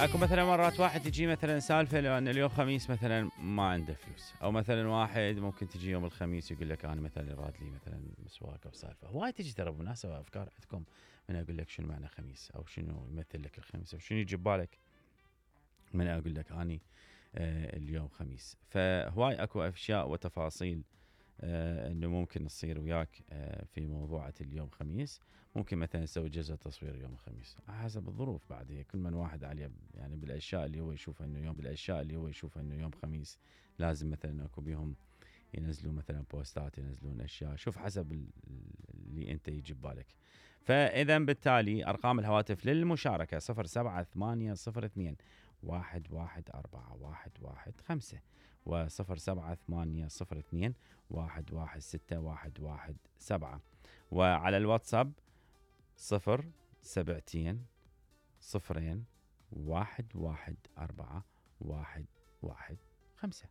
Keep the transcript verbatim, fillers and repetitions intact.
اكو مثلا مرات واحد تجي مثلا سالفه لو ان اليوم خميس مثلا ما عنده فلوس، او مثلا واحد ممكن تجي يوم الخميس يقول لك انا مثلا راد لي مثلا مسواك او سالفه. هواي تجي ترى بمناسبه افكار عندكم من اقول لك شنو معنى خميس، او شنو يمثل لك الخميس، او شنو يجي ببالك من اقول لك اني آه اليوم خميس. فهواي اكو اشياء وتفاصيل آه انه ممكن تصير وياك آه في موضوعة اليوم خميس. ممكن مثلا نسوي جلسة تصوير يوم الخميس حسب الظروف، بعد هي كل من واحد عليه يعني بالاشياء اللي هو يشوفها انه يوم بالاشياء اللي هو يشوفها انه يوم خميس لازم مثلا اكو بيهم ينزلون مثلا بوستات، ينزلون اشياء، شوف حسب اللي انت يجي ببالك. فاذا بالتالي ارقام الهواتف للمشاركة صفر سبعة ثمانية صفر اثنين واحد واحد أربعة واحد واحد خمسة وصفر سبعة ثمانية صفر اثنين واحد واحد ستة واحد واحد سبعة، وعلى الواتساب صفر سبعتين صفرين واحد واحد أربعة واحد واحد خمسة.